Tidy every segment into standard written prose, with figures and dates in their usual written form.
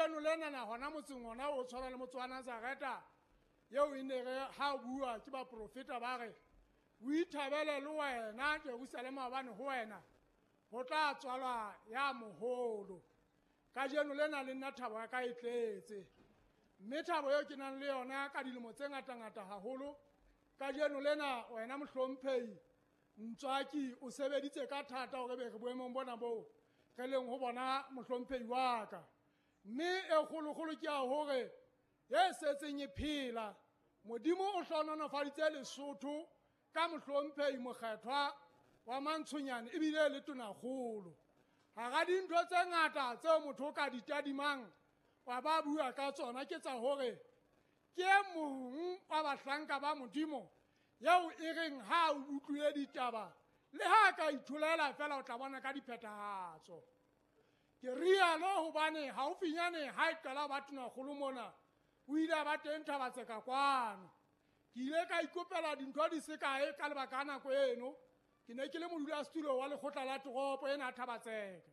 Kajeno lena hona motseng ona o tshwana le motse wa Nazareta eo e ne re ha o bua ke baprofeta ba re o ithabele le wena Jerusalema hobane ho wena ho tla tswalwa ya moholo. Kajeno lena le nna thabo ya ka e tletse, mme thabo eo ke nang le yona ka dilemo tse ngatangata haholo. Kajeno lena wena mohlomphehi Ntswaki o sebeditse ka thata hore be re boemong bona boo re leng ho bona mohlomphehi wa ka. Mme e kgolokgolo ke ya hore e setseng e phela, Modimo o hlohonolofaditse Lesotho ka mohlomphehi mokgethwa wa Mantshonyane ebile le tonakgolo. Hara dintho tse ngata tseo motho o ka di tadimang wa ba bua ka tsona ke tsa hore ke e mong wa bahlanka ba Modimo eo e reng ha o utlwile ditaba le ha ka itholela fela o tla bona ka diphethahatso. Ke rialo hobane haufinyane ha e qala ba tonakgolo mona o ile a ba teng Thabatseka kwano. Ke ile ka ikopela dintho di se kae ka lebaka la nako eno. Ke ne ke le modulasetulo wa lekgotla la toropo ena Thabatseka.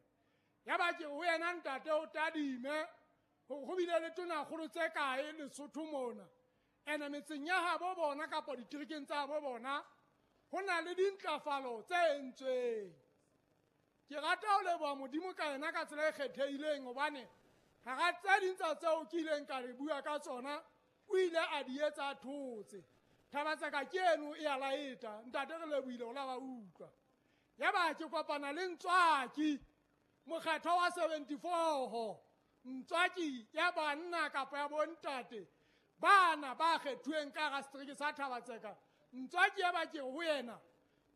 Yaba ke ho yena ntate o tadime hore ho bile le tonakgolo tse kae Lesotho mona. Ene metseng ya habo bona kapa diterekeng tsa habo bona ho na le dintlafalo tse entsweng. Ke rata ho leboha Modimo ka yena ka tsela e kgethehileng hobane hara tse ding tsa tseo ke ileng ka re bua ka tsona o ile a di etsa a thotse. Thabatseka ke eno e a laeta, ntate re lebohile ho la ba utlwa. Yaba ke kopana le Ntswaki mokgethwa wa 74, Ntswaki ya banna kapa ya bontate bana ba kgethuweng ka hara setereke sa Thabatseka. Ntswaki ya ba ke ho yena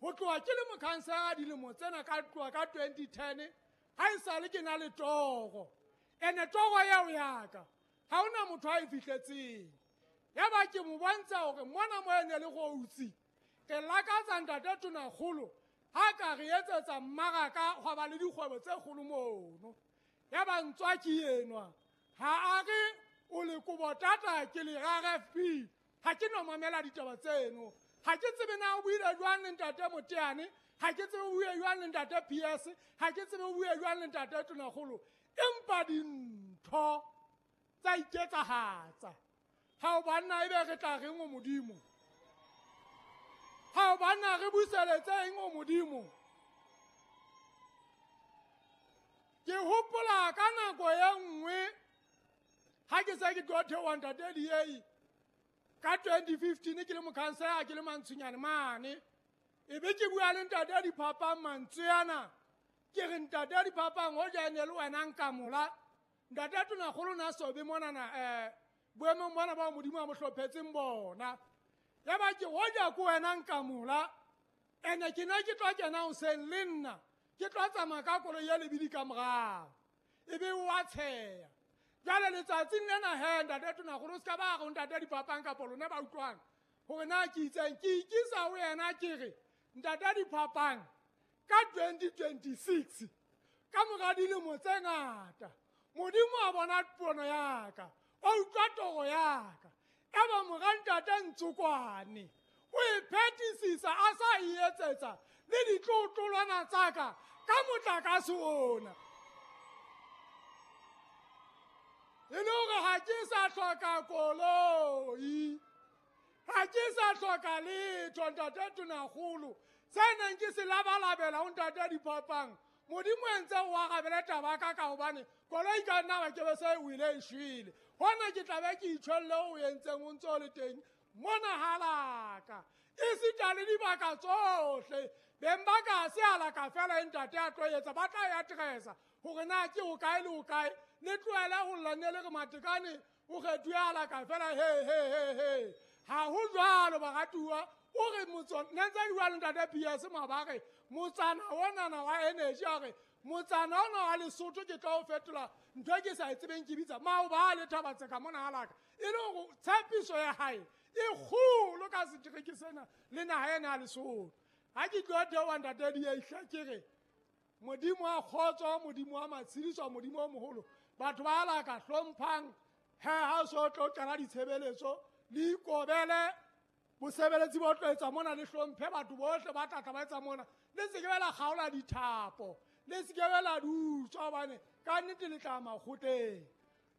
ho tloha ke le mokhansela dilemo tsena ka tloha ka 2010 ha esale ke na le toro. Ene toro eo ya ka ha hona motho a e fihletseng. Yaba ke mo bontsha hore mona mo ene le routsi ke lakatsa ntate tonakgolo ha ka re etsetsa mmaraka hwa ba le dikgwebo tse kgolo mono. Yaba Ntswaki enwa ha a re o le kobo tata ke le RFP, ha ke no mamela ditaba tseno. Ha ke tsebe na o buile jwang le ntate Moteane, ha ke tsebe o buile jwang le ntate PS, ha ke tsebe o buile jwang le ntate tonakgolo, empa dintho tsa iketsahatsa. Ha o banna ebe re tla reng o Modimo? Ha o banna re buseletse eng o Modimo? Ke hopola ka nako e nngwe ha ke se ke tlo theoha ntate Diei ka 2015 ke le mokhansela ke le Mantshonyane mane, e be ke bua le ntate Diphapang mantswe ana. Ke re ntate Diphapang hoja e ne le wena nkamola ntate tonakgolo na sobe monana boemong bona bao Modimo a mo hlophetseng bona. Yaba ke hoja ko wena nkamola ene ke ne ke tlo kena hoseng le nna ke tlo tsamaya ka koloi ya lebidi ka morao, ebe wa tsheya. Jwale letsatsing lena he ntate tonakgolo o se ka ba re ntate Diphapang kapa lona ba utlwang hore na ke itseng. Ke ikisa ho yena ke re ntate Diphapang ka 2026 ka mora dilemo tse ngata Modimo a bona pono ya ka, o utlwa toro ya ka. Eba mora ntate Ntsokwane o e phethisisa a sa e etsetsa le ditlotlolwana tsa ka ka motlakase ona. E le hore ha ke sa hloka koloi, ha ke sa hloka letho ntate tonakgolo. Se neng ke se labalabela ho ntate Diphapang, Modimo entse o arabele taba ka ka hobane koloi ka nna ba ke be se o ile e shwele. Hona ke tla be ke itjholle o entseng o ntse o le teng mona halaka. Esita le dibaka tsohle beng ba ka se alaka fela ntate a tlo etsa ba tla ya addressa hore na ke ho kae le ho kae. Le tlohele ho lla ne le re Matekane o kgethuwe alaka fela he he he he. Ha ho jwalo baratuwa. O re ne ntse ke bua le ntate PS mabare motsana onana wa energy a re motsana ona wa Lesotho ke tla o fetola ntho e ke sa e tsebeng ke bitsa maobale Thabatseka mona halaka. E le hore tshepiso ya hae e kgolo ka setereke sena le naha ena ya Lesotho. Ha ke tlo theoha ntate Diei ke re Modimo wa kgotso, Modimo wa matshediso, Modimo o moholo, batho ba alaka hlomphang he ha o so tlo qala ditshebeletso le ikobele bosebeletsi bo tlo etsa mona, le hlomphe batho bohle ba tla tla ba etsa mona. Le se ke be la kgaola dithapo, le se ke be la dutswa hobane ka nnete le tla makgotleng.